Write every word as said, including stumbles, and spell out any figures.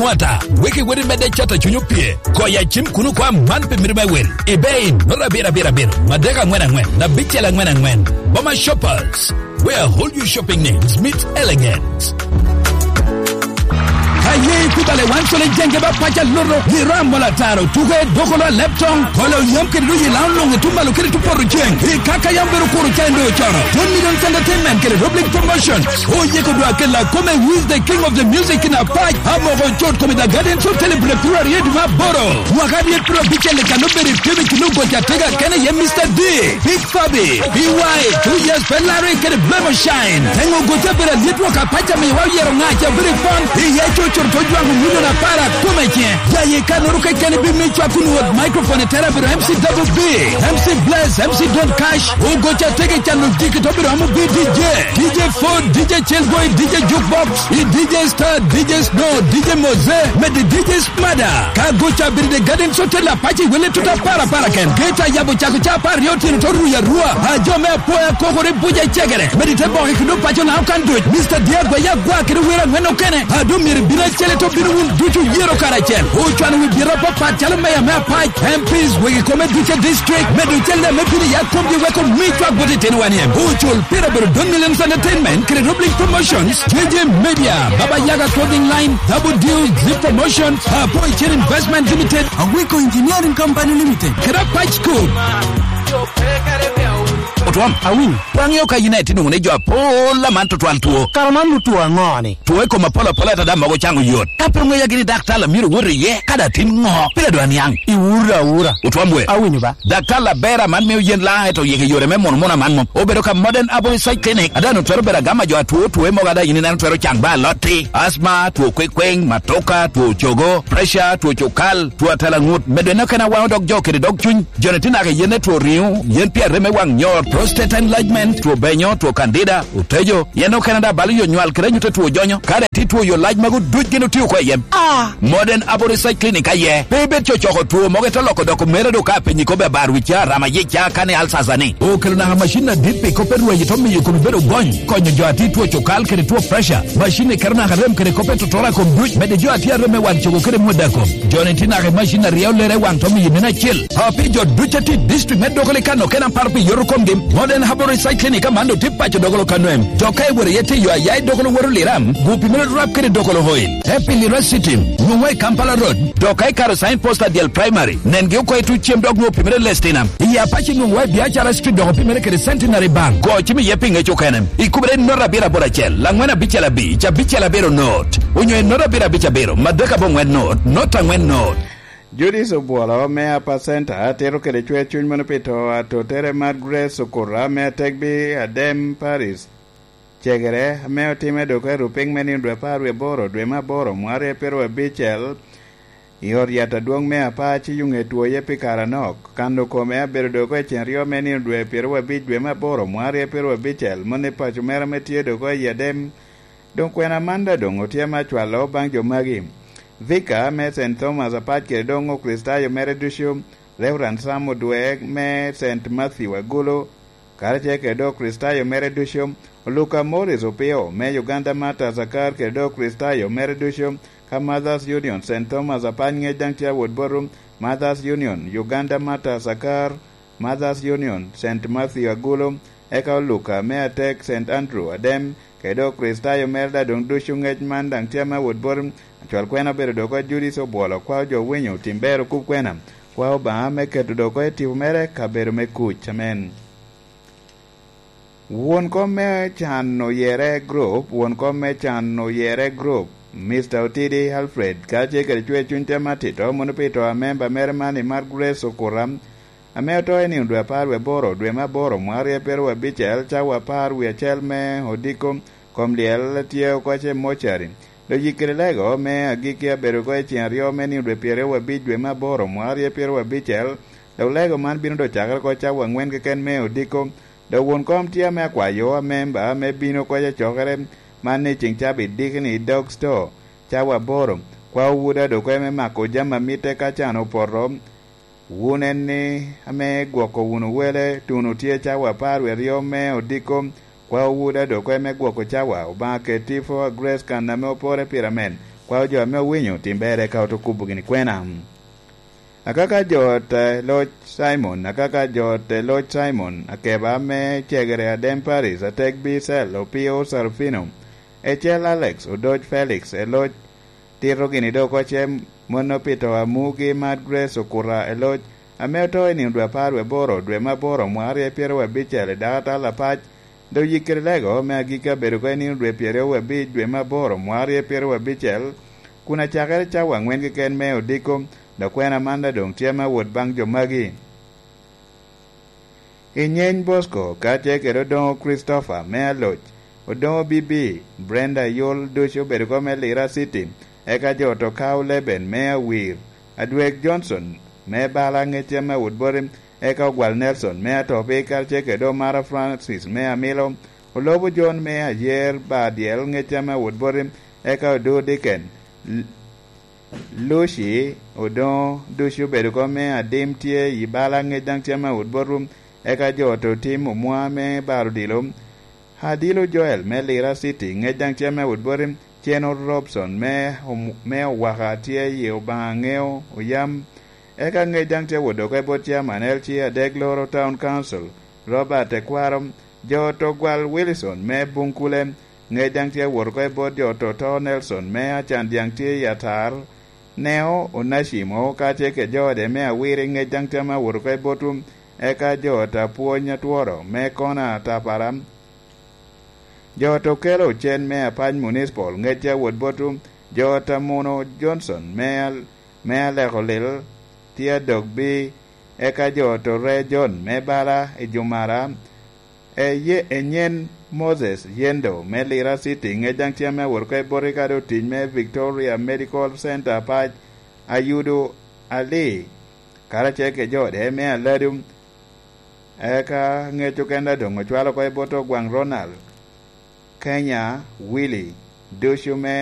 Wata, wek iwot imedde cato cuny opye. Goyo acim kun okwa man pi mito me wel. Ibe i noto abiro abiro abiro, madek angwen angwen, abicel angwen angwen. Boma Shoppers, where all your shopping needs meet elegance. Ka ye ikubale wan cole jenge ba paca loto, i ram mola taro, tuke dokolo a leptong, kolo yam kede doyi lao longe tumalo kede tupoto ceng. I kaka yam bedo kuro cendo cono. One Million Entertainment kede Rob League Promotion. Oyeko dwa kela kome, who is the king of the music in Apac? Amoko Cut kome The Guardians Hotel i Bulebulu aryo dwe me aboro. Mwaka aryo pyero abicel i kano bedo i Phoenix, New Goja Tega kene ye Mister D, Big Fabi, B Y, Two Years Pelari kede Blemo Shine. Teŋo gote bedo alyet wok Apac amiwa oyero ŋaca bedo i pon. Iye cucur to jwaŋo milion apar akome ce. Jaye kanoro kekeni bi mi cwak kun wot microphone i tera bedo M C Double B, M C Bless, M C Don Cash, Ogoca Tega i cano diki to bedo amo bi D J, D J Ford, D J Chillboy, D J Jukebox, i D J Star, D J Snow, D J Mose, mede D J Smada. Ka goca bedo i The Garden Hotel Apac i wele tuta para para ken. Geta yabo cako ca apar aryo otyeno to ruyo arua. A jo me apoya kokore buca i cegere. Mede te boke kendo paco na okan duc. Mister Diego ya gwa kede wero angwen okene. A do myero bino acel to bino wun ducu yero karacel. Ocwano wi bira papat calo meya me Apac, M Ps, wegi kome duce district, medo cel me bino ya komgi weko mi cwak bot itino wan iem. Ocul pira bedo Don Millions Entertainment, kede Rob League Promotions, J J Media, Baba Yaga Clothing Line, Double Deal, Zip Promotions, Apo Icen Investment Limited, Awiko Engineering Company Limited, kede Apac School. Otwom, awinyo. Waŋ yo ka yin aye tye nwoŋo ni jo apola man tutwal two. Kara man otwo aŋo ni? Two i kom apol apola ata dam mogo caŋo yot. Ka pe ŋeya gini daktar a myero wot iye, kadi atin ŋo, pire dwa niaŋ. Iwura awura. Otwom we. Awinyo ba. Daktar Labera man mio yen laŋ eto yike yore me mono mono aman mom. Obedo ka Modern Abo Research Clinic. Ada no twero bedo agama jo atwo two mogo ada yin ineno twero caŋ ba alotti. Asma, two kwekweŋ, matoka, two cogo, pressure, two cukal, two atalaŋut. Medo eno kena waŋo dog jo kede dog cuny. Joni tye naka yen two riŋo, yen pi arem me waŋ nyor, prostate enlargement, two benyo, two candida, otejo, yen okene da balo yo nywal kede anyutte two jonyo. Kare ti two yo lac magu duc gin otio oko i yem. Ah! Modern Abo Research Clinic aye. Pe ibed cocoko two mogo ito loko doko mere do ka penyi kobe abar wi ca, rama ye ca, kane alsasa ni. Okelo naka macin adit pi kop e rweyo to miyo komi bedo gony. Konyo jo ati two cokal kede two pressure. Macin ni kero naka rem kede kop e totora kom duc. Mede jo ati arem me wan cogo kede mweda kom. Joni tye naka i macin aryo lere waŋ to miyo nino acel. Api jo duc ati district me doko le kano kena paro pi yoto komgi. Modern Herbal Research Clinic aman do tye paco dogolo kano em. Dok ka iwero iye tiyo aya i dogolo woro liram, gu pi meno rap kede dogolo oil. Happy Lira City, nwoŋo i Kampala Road. Dok ka ikaro sign post adyel primary, nengi oko i tuc cem dok nwoŋo pi meno lestina. I Apache nwoŋo i Biacara Street dok pi meno kede Centenary Bank. Go cim iye pi ŋec okene. Ikubere i nota abiro aboro acel, laŋwen abicel abic, abicel abiro not. Onyo i nota abiro abic abiro, madek aboŋwen not, not aŋwen not. Judith Obwolo me Upper Center tito kede cwer cuny mono pi to atotere mar Grace Okura me Ategbi Adem Paris. Cegere ame otime dok i Rupiny me nino dwe apar wie aboro, dwe me aboro, mwaka aryo pyeraryo abicel, i ot yat adwoŋ me Apac i Yuŋe two ye pi kare anok. Kano kome abedo dok i cen ryo me nino dwe pyeraryo abic, dwe me aboro, mwaka aryo pyeraryo abicel, moni paco mere ame tye dok i Adem. Doŋ kwena man daŋ doŋ otye ame acwalo baŋ jo magi. Vika me Saint Thomas Apac kede doŋ Okricitayo mere ducu, Reverend Sam Odwek me Saint Matthew Agulu, karacel kede doŋ Okricitayo mere ducu, Luka Morris Opio me Uganda Martyrs Akar kede doŋ Okricitayo mere ducu, ka Mothers Union Saint Thomas Apac ŋec daŋ tye awot boto, Mothers Union Uganda Martyrs Akar, Mothers Union, Saint Matthew Agulu, eka Oluka me Atek, Saint Andrew Adem, kede Okricitayo mere daŋ doŋ ducu ŋec man daŋ tye ame awot boti. Acwal kwena obedo doko Judith Obwolo, kwao jo winyo, tim ber okub kwena, kwao Obaŋa me keto doko i tipo mere kabedo me kuc. Amen. Won kom me can oyere group, won kom me can oyere group, Mister Otidi Alfred, kacel kede cwer cuny te matito, mono pi to a memba mere man i Mark Grace Okuram, ame oto i nino dwe apar wie aboro, dwe me aboro, mwaka aryo pyeraryo abicel, cawa apar wie acel me odiko, kom lyel tye oko ace mocari. Dok yik kede lego me agikki abedo oko i ceng aryo me nino dwe pyeraryo abic, dwe me aboro, mwaka aryo pyeraryo abicel, dok lego man bino dok cakere oko cawa angwen keken me odiko. Dok won kom tye ame akwayo amemba me bino oko i acokere man i ceng cabit diki-ni i dog sto, cawa aboro, kwao wuda dok eme mako jami a mitte ka can opoto. Wun en ni ame gwoko wunu wele, tuno tye cawa apar wie aryo me odiko, kwao wuda dok eme gwoko cawa, Obaŋa ket tipo a Grace kan ame opore pire amen. Kwao jo ame owinyo tim ber eka oto kubo gini kwena. Akaka jo te loc Simon, akaka jo te loc Simon, akeba me cegere Adem Paris, atek Bicel, Opio Sarufino, Ecel Alex, Odoc Felix, eloc tito gini dok oce, mano pito amugi Mad Grace Okuta, eloc ame oto i nino dwe apar wie aboro, dwe me aboro, mwaka aryo pyeraryo abicel, i dakatal apac, dok yikkere lego me agikki abedo oko i nino dwe pyeraryo wie abic, dwe me aboro, mwaka aryo pyeraryo abicel, kun acakere cawa angwen keken me odiko, dok kwena man daŋ doŋ tye me awot baŋ jo magi. I nyeny Bosco, kacel kede Odoŋo Christopher me Aloc, Odoŋo Bibi, Brenda Yol ducu obedo oko me Lira City, eka jo oto Kao Leben me Awir, Adwek Johnson me Bala ŋecce me Awot Boti, eka Ogwal Nelson me Atopi, kacel kede Omara Francis me Amilo, Olobo John me Ayer Badyel ŋecce me Awot Boti, eka Odo Dickens, Lucy Odoŋo ducu obedo oko me Adim tye i Bala ŋec daŋ tye me Awot Boti, eka jo oto Tim Omwa me Baro Odilo, Adilo Joel me Lira City ŋec daŋ tye me Awot Boti, Ceno Robson me Om-, me Owaka tye i Obaŋa Ŋeo Oyam, eka ŋec daŋ tye wot oko i bot Chairman L C Adek Loro Town Council, Robert Ekwaro, jo oto Gwal Wilson me Buŋkule, ŋec daŋ tye wot oko i bot jo oto to Nelson me Acan Dyaŋ tye i Atar, Neo Onacimo, kacel kede jo ode me Awiri, ŋec daŋ tye me wot oko i botwu, eka jo oto Apwony Atworo me Kona Atapara, jo oto Kelo Ocen me Apac Municipal, ŋec tye wot botwu, jo oto Muno Johnson me Al-, me Aleko Lil, tye adok bi, eka jo oto Re John me Bala i Jumara, Eye-, Enyen Moses Yendo me Lira City, ŋec daŋ tye me wot oko i boti kadi otic me Victoria Medical Center Apac, Ayudo Ali, karacel kede jo ode me Aladu, eka ŋec okene doŋ ocwalo oko i bot Ogwaŋ Ronald, Kenya, Willy, ducu me